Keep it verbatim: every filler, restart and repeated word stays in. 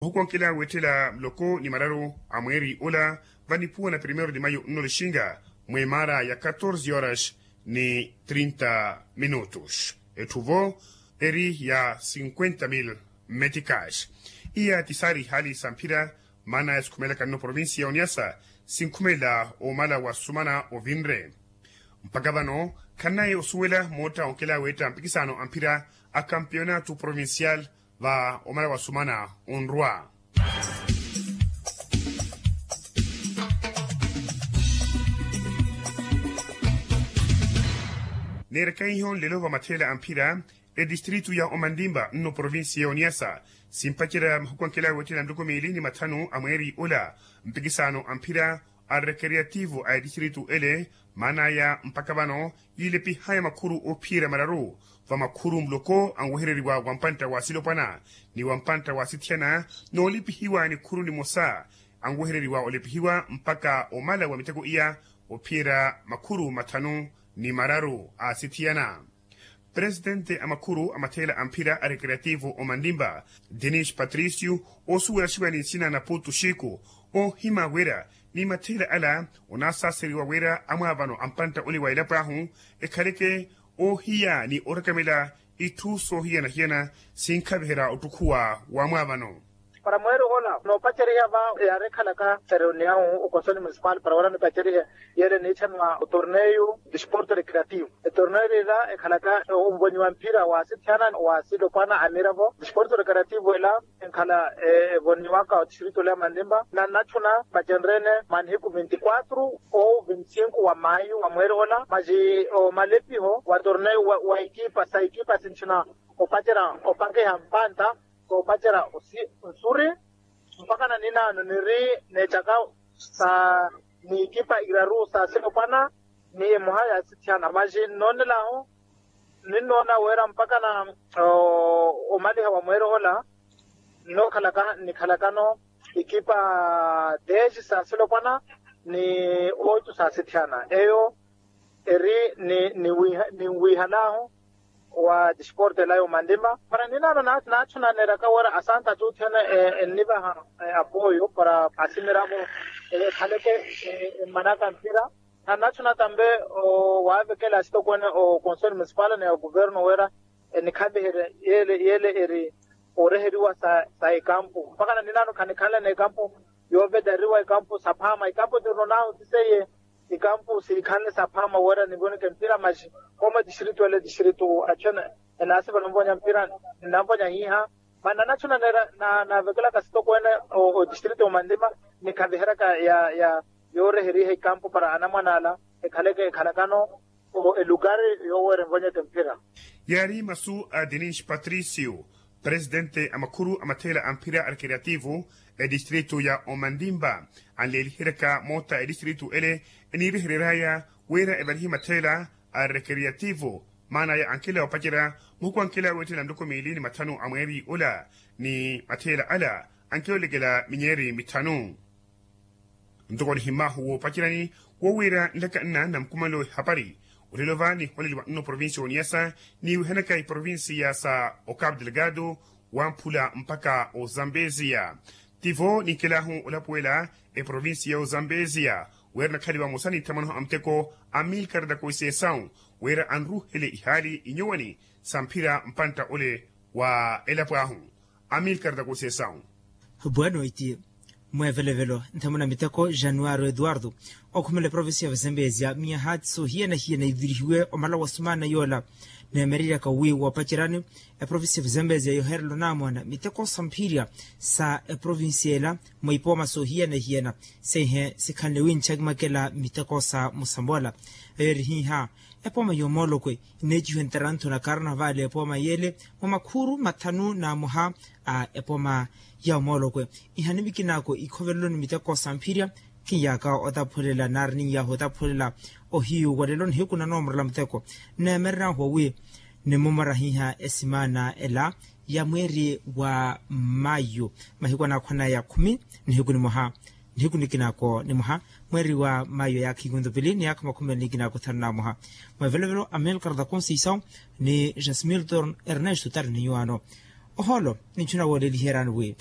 Ohukonkela wetthela muloko ni mararu a mweeri ola vanipuwa na primeiro de maio nno lixinga, mwemaara ya catorze horas ni trinta minutos. Etthu vo eri ya cinquenta mil meticas. Iya ti saari ihaali sa mphira maana ya sikhumelaka nno provincia ya oniasa sinkhumela omala wa sumana ovinre. Mpakha vano khannaye osuwela mootta onkela weetta mpikisano a mphira a campeonato provincial va omala wa sumana onrwa. Neeraka iho nlelo va matheela a mphira, etistritu ya omantimpa nno provincia ya oniasa simpacerya mahuku ankela wetthela ntuku miili ni mathanu a mweeri ola mpikisano a mphira a recreativo a etistritu ele. Maan'aya mpakha vano yiilepihaya makhuru ophiyerya mararu va makhuru muloko anwehereriwa wa mpantta wa silopwana ni wa mpantta wa sithiyana, noolepihiwa nikhuru nimosa anwehereriwa olepihiwa mpakha omala wa miteko iya ophiyerya makhuru mathanu ni mararu a sithiyana. Presitente a makhuru a matheela a mphira a recreativo omantimpa, denis patricio, oosuwelaxiwa ni nsina na putu xiku, oohima wira ni matheela ala onaasaaseriwa wira amwaavano a mpantta ole wa elapo ahu ekhaleke oohiya ni oorekamela itthu soohiyana-hiyana sinkhaviherya ottukhuwa wa amwaavano. Para mweeri ola noopaceriha va yaari ekhalaka reunião o conselho municipal para wira nipacerihe yeele niitthaniwa otorneio desporto recreativo. Etorneio ela ekhalaka ovoniwa mphira wa sithiyana wa silopwana a miravo desporto recreativo ela enkhala evoniwaka otistrito ole amantimpa na nnatthuna vacenrene mwa nihiku vinti quatro ou vinti cinco wa maio wa mweeri ola masi omalepiho wa torneio wa ekipa sa ekipa sintthina opacerya opakeha mpantta koopacerya nsuri mpakha naninaano niri neecaka sa niikipa iraru sa silopwana ni emoha ya sithiyana masi nnoonel'ahu ninnoona wira mpakha na omaliha wa mweeri ola nnookhalaka nikhalakano ikipa dez sa silopwana ni oito sa sithiyana eyo eri ninwiihan'ahu wa disporte ela y'omantima para ninaano naachunaneeryaka wira asanta atutthene ennivaha apoyo para asimiravo ekhaleke emmanaka mpira. Nannachuna tambe waavekela asitokwene o conselho municipal ni agoverno wira enikhaviherye yeele eri oreheriwa sa ekampu mpakha naninaano khanikhanle n'ekampu yoovetareriwa ekampu saphaama ekampu tirino nahu ti seiye ekampu siikhanle saphaama wira nivoneke mpira maxi kooma etistritu ele etistritu achu ene enaasiva nonvonya mpira ninanvonya hiiha mani nanachuna neera naavekelaka sitokwene otistritu omantima nikhaviheryaka ya yooreheriha ekampu para anamwane ala ekhaleke ekhalakano elukari yooweera envonyeke mphira. Yaari masu a denis patricio presidente a makhuru a matheela a mphira a recreativo etistritu ya omantimpa anleeliheryaka moota etistritu ele eniirehereryaya wira evalihe matheela a recreativo maan'aya ankela opacerya muhuku ankela weettela nloko miili ni mathanu a mweeri ola ni matheela ala ankeolekela minyeeri mithanu. Ntoko nihimmaahu woopacerani wowiira nlaka nna na mukumalo ehapari olelo va niholeliwa nno provincia oniyasa niiwihanaka iprovincia sa ocapo delgado wamphula mpakha ozambesia. Tivo ninkelahu olapuwela eprovincia ya ozambesia wira nakhaliwa mosa ni nthamanoho a muteko amilkar da conceição wira anruhele ihaali inyuwani sa mphira mpantta ole wa elapo ahu. Amilkar da conceição. Bueno iti mweevelovelo nthamuna miteko januaro eduardo okhumela eprovincia ya vazambezia miyaha ti soohiyana-hiyana ivirihiwe omala wa sumaana yoola neemereryaka wi woopacerani eprovincia ya vazambezia yoherela onaamwana miteko sa mphirya sa eprovincia ela mwa ipooma soohiyana-hiyana seihe sikhanle wi nchakimakela miteko sa musambola eyo eri hiiha epooma y'omoolokwe ineecihiwe ntarantho na karnavali epooma yeele mwa makhuru mathanu na moha a epooma ya omoolokwe ihanimikinaako ikhoveleloni miteko sa mphirya khiyaaka otaphulela nari ninyaha otaphulela ohiyu walelo nihiku nanoomorela muteko nneemereryahu wi nimumora hiiha esimaana ela ya mweeri wa mayu mahiku anaakhwanaya khumi nihiku nimoha nihiku nikinaako nimoha mweeri wa mayu ya khikunto pili ni yaakha makhumi meli nikinaako thanu na moha mwevelovelo amilkar da conceição ni jasmilton ernesto tari ni nyuwaano ohoolo ninchuna wooleliheryani wi